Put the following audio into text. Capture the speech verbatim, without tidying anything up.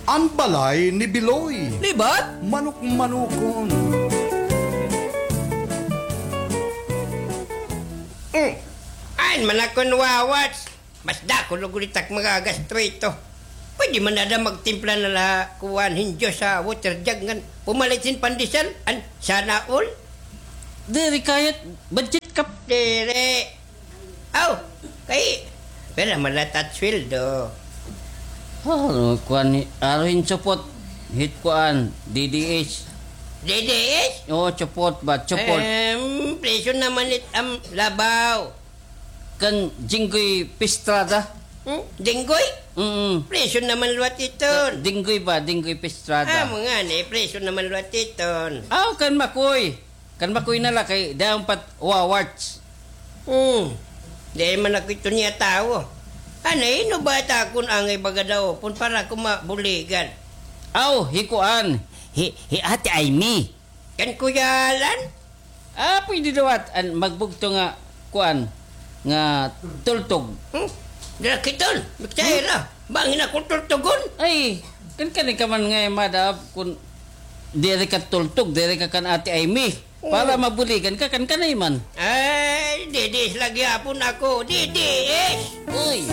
An balay ni Biloy. Libat? Manok-manokon. Mm. Ain man akon wawats. Mas dako lugod it ak magagastro ito. Pwede man ada magtimpla na la kuan hin juice ha water jug ngan pumalit hin pandesal. An sana all. Diri kayat budget kap. Diri. Aw, kay pira man la it at sweldo? Ano, kuan ni, aro hin support hit kuan, D D S. D D S? Oo, support ba? Support. Em, presyo naman it am labaw. Kan Jinggoy Pistrada. Hmm? Jinggoy? Mm. Presyo naman liwat iton. Jinggoy ba? Jinggoy Pistrada. Ah, mga ni, presyo naman liwat iton. Aw, kan Makoy. Kan Makoy na la kay dayon pat wawarts. Hmm. Di man ako ito niya tawo. Ano, ino ba ta akon angay baga daw pon para ko mabuligan? Aw, hi kuan. Hi, hi Ate Aimee. Kan Kuya Alan? Ah, pwede daw at an magbugto nga kuan nga tultog. Hmm? Dira kiton, magtahira. Bangin ako tultugon. Ay, kan kani ka man nga madap kun diri ka tultog, diri ka kan Ate Aimee. Para mabuligan ka kan kanay man. Ay, D D S lagi hapon ako. D D S! Uy!